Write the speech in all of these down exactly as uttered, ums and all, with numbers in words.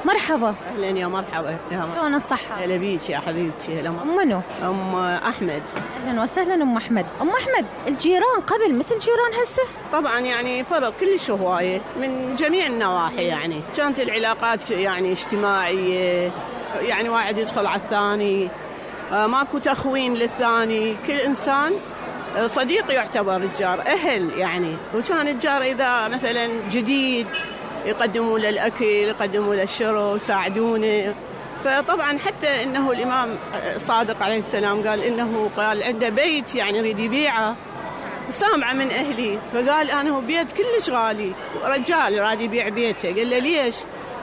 مرحبا. اهلا يا مرحبا يا مرحبا. شلون الصحة؟ هلا بيك يا حبيبتي. هلا ام منو؟ ام احمد. اهلا وسهلا ام احمد. ام احمد، الجيران قبل مثل جيران هسه؟ طبعا يعني فرق كلش هوايه من جميع النواحي، يعني كانت العلاقات يعني اجتماعيه، يعني واحد يدخل على الثاني، ماكو تخوين للثاني، كل انسان صديق يعتبر الجار، اهل يعني. وكان الجار اذا مثلا جديد يقدموا له الاكل، يقدموا له الشرب، يساعدونه. فطبعا حتى انه الامام صادق عليه السلام قال انه قال عنده بيت يعني يريد يبيعه، سامعه من اهلي، فقال انا هو بيت كلش غالي، رجال راد يبيع بيته. قال له ليش؟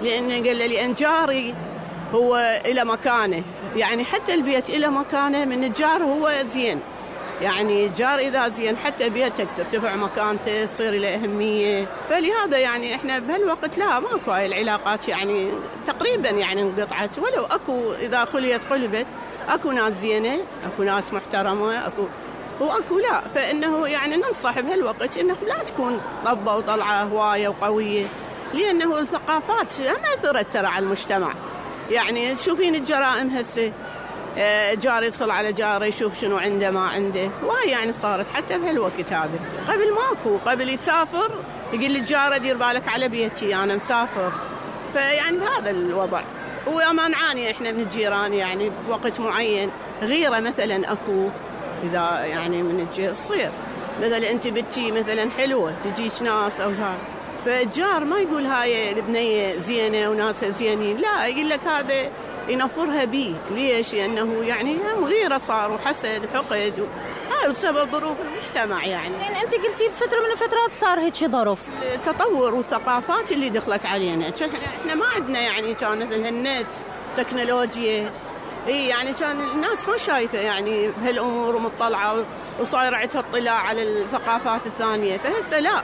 لانه قال له لان جاري هو إلى مكانه، يعني حتى البيت إلى مكانه من الجار هو زين، يعني الجار إذا زين حتى بيتك ترتفع مكانته، تصير له أهمية. فلهذا يعني إحنا بهالوقت لا ماكو هاي العلاقات يعني تقريبا يعني انقطعت، ولو أكو إذا خليت قلبت، أكو ناس زينة، أكو ناس محترمة، أكو وأكو لا. فإنه يعني ننصح بهالوقت إنه لا تكون طبة وطلعة هواية وقوية، لأنه الثقافات ما أثرت ترى على المجتمع. يعني تشوفين الجرائم هسه، جار يدخل على جاره يشوف شنو عنده ما عنده، وهي يعني صارت حتى بهالوقت هذا. قبل ماكو، قبل يسافر يقول للجاره دير بالك على بيتي انا مسافر. فيعني بهذا الوضع. وما نعاني احنا من الجيران يعني بوقت معين غيره مثلا اكو، اذا يعني من الجير تصير مثلا انت بنتي مثلا حلوه تجيش ناس او جار، فالجار ما يقول هاي البنيه زينه وناسها زينين، لا يقول لك هذا ينفرها بيه. ليش؟ لانه يعني هم غيره صار وحسد وحقد، هاي بسبب ظروف المجتمع يعني. زين انت قلتي بفتره من الفترات صار هيك ظروف، التطور والثقافات اللي دخلت علينا. احنا ما عندنا يعني كان مثل النت، تكنولوجيا، اي يعني كان الناس ما شايفه يعني بهالامور ومطلعه وصاير عندها اطلاع على الثقافات الثانيه. فهسه لا،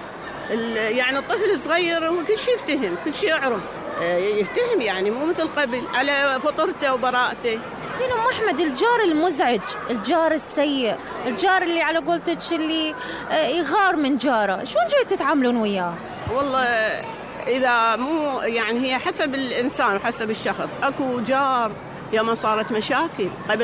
يعني الطفل الصغير هو كل شيء يفتهم، كل شيء يعرف، يفتهم يعني مو مثل قبل على فطرته وبراءته. زين ام احمد، الجار المزعج، الجار السيء، الجار اللي على قولتك اللي يغار من جاره، شلون جاي تتعاملون وياه؟ والله اذا مو يعني هي حسب الانسان وحسب الشخص. اكو جار يوم صارت مشاكل قبل